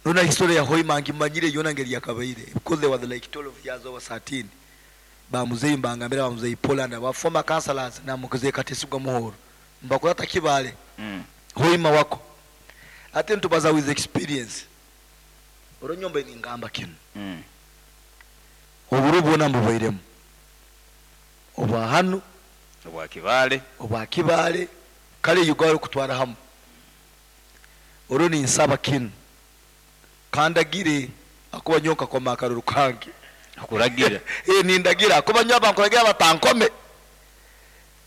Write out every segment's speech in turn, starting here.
Rona history ya Hoima ngimanyire yona ngeri yakabaire, because they were like 12 years over 13. Bamuzeyi mbangambira, bamuzeyi Poland, aba former councillors na muzeyi Katesigwa Muhoro mbakurata Kibale. Hoima wako ate ntubaza with experience. Oronyomba ningamba kinu. Oburo bwona mbubairemu obwa hanu, obwa Kibale, obwa Kibale, kale Uganda kutwara hamu. Oro ninsaba kinu, kandagire akuba nyo nkakoma akaruru kange. Okuragira. Eh, nindagira akuba nyo abankuragira batankome.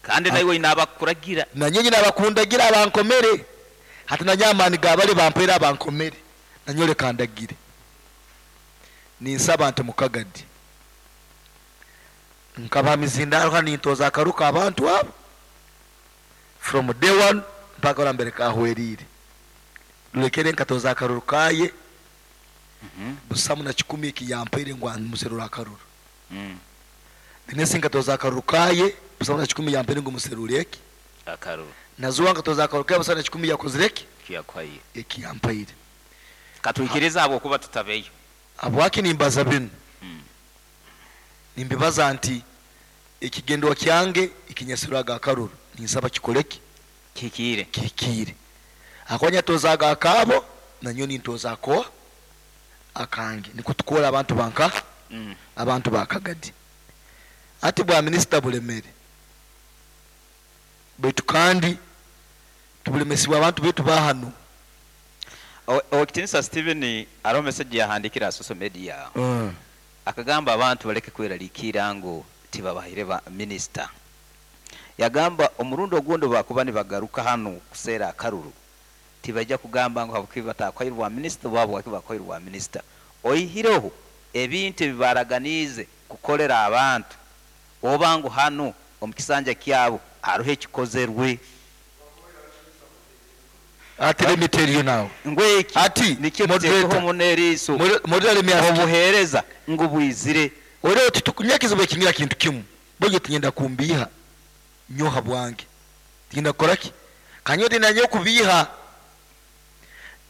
Kandi naiwe oine abakuragira. Nanye nyine abakundagira abankomere. Hati nanye amaani gabali bampaire abankomere, nanyo leka ndagire. Ninsaba nti mukagadi nkaba mizindaro hano, nintoza akaruka abantu abo from day one mpaka ora mbere kahwerire. Lulekere nkatoza akaruru kaye. Busamu na kikumi ekiyampaire ngu muserura akaruru. Dinesi nkatoza akaruru kaye, busamu na kikumi yampaire ngu muserure eki akaruru. Nazuwa nkatoza akaruru kaye, busamu na kikumi yakozire eki kiyakuhaire, ekiyampaire. Katwikiriza habwokuba tutabeyo. Habwaki nimbaza binu? Nimbibaza nti ekigendwa kyange ekinyasirwaga akaruru ninsaba kikoleki? Kikiire. Kikiire. Akuba nyatozaga akaabo, nanyo nintoza akoa akange, niko tukora abantu banka. Abantu bakagadi ati bwa minisita bulemere baitu kandi tubulemesibwa abantu betu bahano. Owekitinisa Stephen, hariho message yahandikira ha social media. Akagamba abantu baleke kweraliikira ngu tibabahaire ba minisita. Yagamba omurundi ogundi bakuba nibagaruka hano kuseera akaruru, tibajja kugamba ngu habwokuba batakuhaire bwa minisita oba habwaki bakuhaire bwa minisita, oihireho ebintu ebi baraganiize kukolera abantu, oba ngu hano omu kisanja kyabo hariho ekikozerwe. Ati let me tell you now. Ngweki Ati, nikyo moderator. tuteekeho muno eriiso. Moderator, let me ask you. Obuheereza ngu bwizire. Ore oti tukunyakizibu ekingira kintu kimu bojo tinyenda kumbiha nyoha bwange, tinyenda kukoraki kanyo tinanye okubiha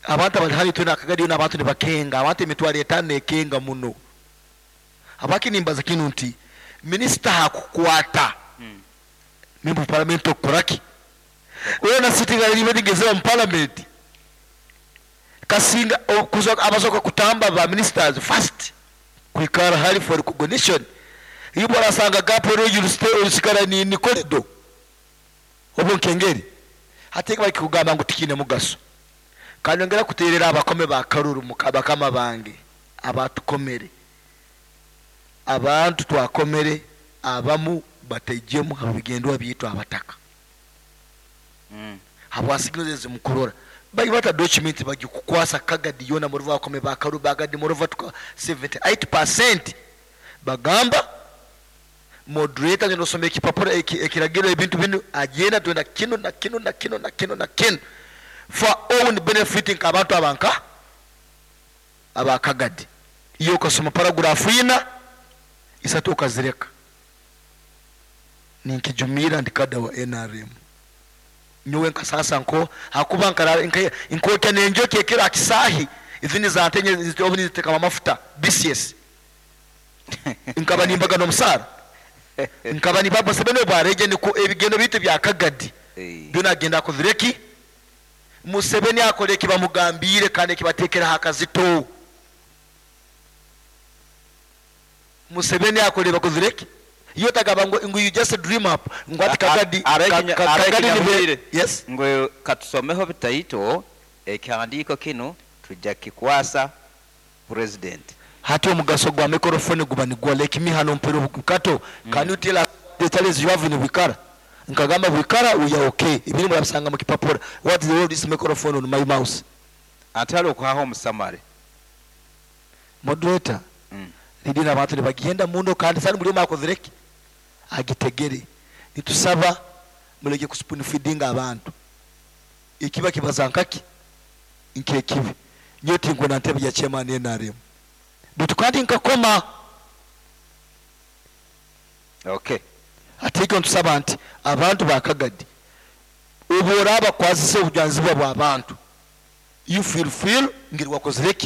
abantu abali hali twena akagadi n'abantu nibakenga abantu 50,000 ekenga muno. Habwaki nimbaza kinu nti minisita hakukwata member of parliament okukoraki wewe na sitting alibe nigezera mu parliament kasinga okuza abasoka kutamba ba ministers first kwikara hali for recognition. Iyo barasanga gap rero urusigara ni corridor obo nkengeri hateka bari kugamba ngo tikine mugaso. Kandi ngera kuterera abakome ba karuru mukabakama bange abatukomere, abantu twakomere abamu batejemu habigendwa byitwa abataka. Habwasiginoze zimukurora bali bata document bagikukwasa kagadi yona muri bakome ba karu bagadi muri vatuka 78% bagamba moderator ngeno some ekipapura ekiragiro ebintu binu agenda twenda kino na kino na kino na kino na kino for own benefiting abantu abanka abakagadi. Iyo ukasoma paragraph ina isatu ukazireka. Ninkijumira ndikada wa NRM nyowe nkasasa nko hakuba nkara nkokya nenjoki ekira kisahi izini za ntenye zitobuni ziteka amafuta BCS nkaba nimbaga no musara nkaba ni baba sebene bareje niko ebigendo bitu bya kagadi. Byo nagenda kuzireki Museveni akole kibamugambire kandi kibatekera hakazito. Museveni akole bakuzireki iyo tagaba ngo you just dream up ngo ati kagadi kagadi ni yes. Ngo katusomeho bitaito ekihandiko kino tujja kikwasa president. Hati omugaso gwa microphone guba nigwa like me hano mpero bukato. Can you tell us the challenge you have in Bwikara? Nkagamba Bwikara we are okay. Ibiri murabisanga mu kipapura. What is the role this microphone on my mouse? Atalo kwaho musamare. Moderator. Lidina abantu bagenda muno kandi sani muri makozereki agitegere. Nitusaba muleke kuspoon feeding abantu. Ikiba kibazankaki nkekibi. Nyoti ngo na ntebe ya chairman NRM. Bitu kandi nkakoma. Okay. Atiko ntusaba nti abantu bakagadi ubora abakwazise obujanzibwa bwa bantu. You feel ngiri wakozereki.